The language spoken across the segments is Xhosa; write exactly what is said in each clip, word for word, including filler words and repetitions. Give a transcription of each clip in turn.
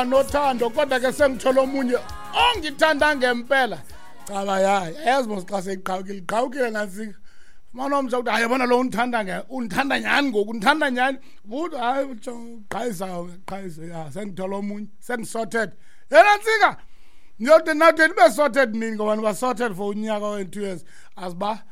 Nothando, kodwa ke sengithola omunye ongithanda ngempela. Caba ya, yazi mos xa seyiqhawukile, iqhawukile nantsika. Fumana omtsha ukuthi hayi, yabona lo undithanda nge undithanda nyhani ngoku, undithanda nyhani. Uthi hayi, qhayisa qhayisa, ya, sengithola omunye, sengi-sorted. Yena ntsika, ndiyode nathi nibe sorted nini, ngoba niba sorted for unyaka or two years. Aziba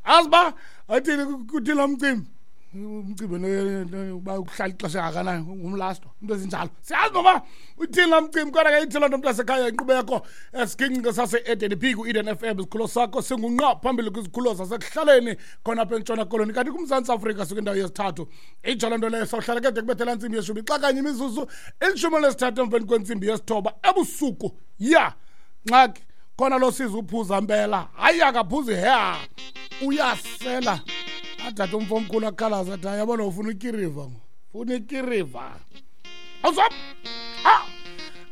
aziba athini kuthini lo mcimbi, umcimbi uba uhlala ixesha engakanani, ngumlasto, into ezinjalo, siyazi noba uthini laa mcimbi. Kodwa ke ithi loo nto, mntasekhaya, inkqubo yakho esiginci sase-Eden P ku-Eden F M, isikhululo sakho singunqa phambili kwizikhululo zasekuhlaleni khona apha eNtshona Koloni, kanti kuMzantsi Afrika sikwindawo yesithathu. Itsho loo nto leyo, sawuhlala ke de kubethela ntsimbi yeshumi, xa kanye imizuzu elishumi lesithathu emveni kwentsimbi yesithoba ebusuku. Ya, ngxaki khona lo siza uphuza mpela, hayi akaphuzi hea, uyasela. Athathe umfo omkhulu akhalaza athi, yabona, ufuna ikiriva, ufuna ikiriva. Awusop, ah,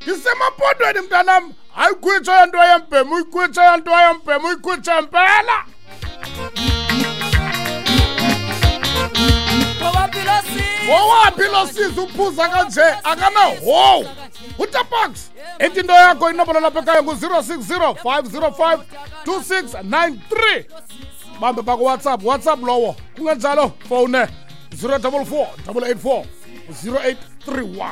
ndisemampondweni mntanam. Hayi, khwitsha yanto yembhemu, uyikhwitsha yanto yembhemu, uyikhwitsha mpela. Ngowaphi lo siza uphuza kanje akanahowu? Utapax, ethi into yakho, inombolo lapha ekhaya ngu-zero six zero five zero five two six nine three. Bambe bakuWhatsApp, WhatsApp lowo, kungenjalo fowune zero double four double eight four zero eight three one.